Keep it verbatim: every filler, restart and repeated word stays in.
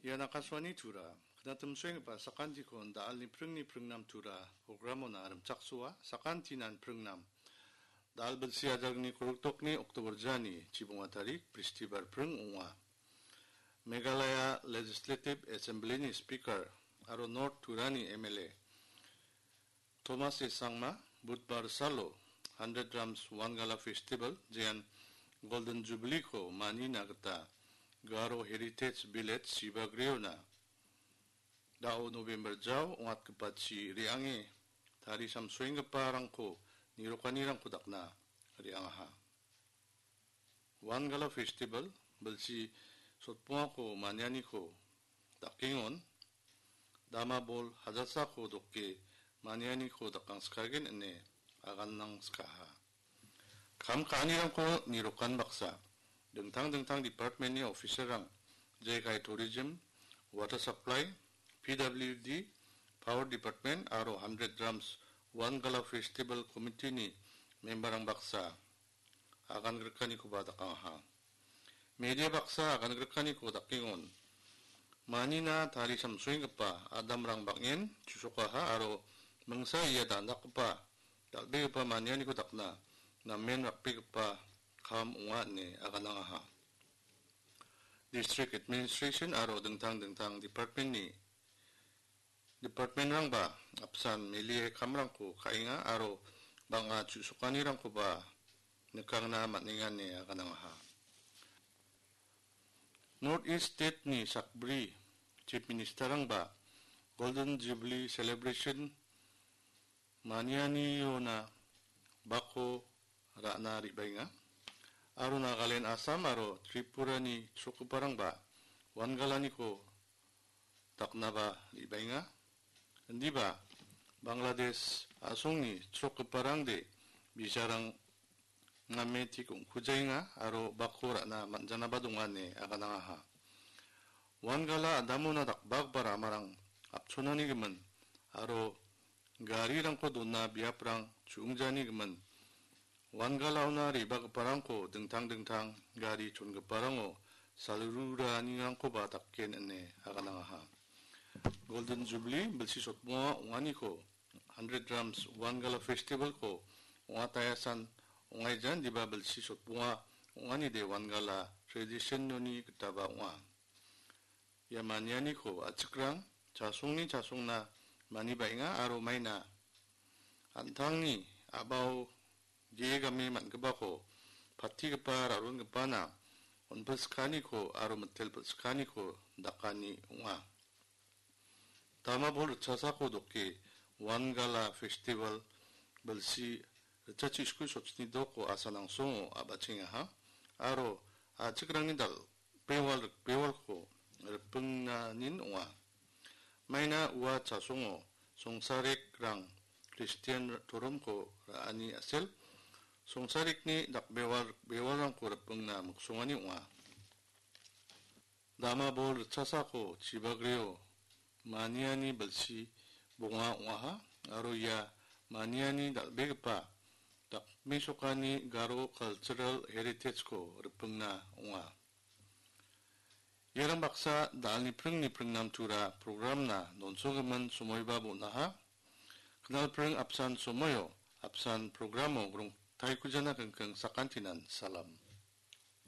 Ian Akashvani Tura, knatimsoenggipa sakantiko da·alni pringni pringnam Tura programona rimchaksoa, sakantinan pringnam. Da·al bilsi ajargni kolgrikdokni October jani chibonga tarik, Bristibar pring ong·a. Meghalaya Legislative Assemblyni Speaker aro North Turani M L A Thomas A Sangma, Budbar salo Hundred Drums Wangala Festival, jean Golden Jubilee-ko manina gita Garo Heritage Village Sibagriona da·o November jao ong·atgipachi re·ange tarisamsoenggiparangko nirokanirangko dakna re·angaha. Wangala Festival bilsi sotbongako manianiko dakengon, dama bol hajasako doke manianiko dakangskagen ine aganangskaha. Kam ka·anirangko nirokan baksa, dingtang dingtang departmentni officerrang, jekai Tourism, Water Supply, P W D, Power Department aro Hundred Drums Wangala Festival Committee-ni memberrang baksa agan grikanikoba dakangaha. Media baksa agan grikaniko dakengon, manina tarisamsoenggipa adamrang bang·en chusokaha aro mingsa ia dandakgipa dal·begipa manianiko dakna namen rakbegipa kam ong·a ine aganangaha. District Administration aro dingtang dingtang departmentni, departmentrangba apsan melie kamrangko ka·enga aro bang·a chu·sokanirangkoba nikangna man·enga ine aganangaha. North East State-ni sakbri Chief Ministerrangba Golden Jubilee Celebration manianiona bako ra·na re·baenga. Aro Nagaland, Assam aro Tripurani chrokgiparangba Wangalaniko daknaba re·baenga. Indiba Bangladesh a·songni chrokgiparangde bisarang name tik ong·kujaenga aro bako ra·na man·janaba donga ine aganangaha. Wangala adamona dakbagipa ramarang apchonanigimin aro garirangko dona biaprang chu·ongjanigimin Wangalaona re·bagiparangko dingtang dingtang gari chongiparango salruranirangkoba daken ine aganangaha. Golden Jubilee bilsi sotbonga ong·aniko Hundred Drums Wangala Festival-ko ong·ataia san ong·aijan diba bilsi sotbonga ong·anide Wangala tradition-oni gitaba ong·a. Ia manianiko a·chikrang chasongni chasongna manibaenga aro maina an·tangni a·bao ge·e game man·gipako patigipa ra·rongipana on·pilsikaniko aro mitel pilsikaniko dakani ong·a. Dama bol ritchasako doke Wangala Festival bilsi ritchachiko sotchini doko asanangsongo a·bachengaha aro a·chikrangni dal-, bewal rikbewalko ripingnanin ong·a. Maina ua chasongo songsarekrang Kristian toromko ra·ani a·sel, songsarekni dakbewal rikbewalrangko ripingna miksongani ong·a. Dama bol ritchasako chibagrio maniani bilsi bonga ong·aha aro ia maniani dal·begipa dakmesokani Garo Cultural Heritage-ko ripingna ong·a. Iarang baksa da·alni pringni pringnamtura programna donsogimin somoiba bon·aha. Knalpring apsan somoio, apsan programo grongtaikujana kingking sakantinan salam.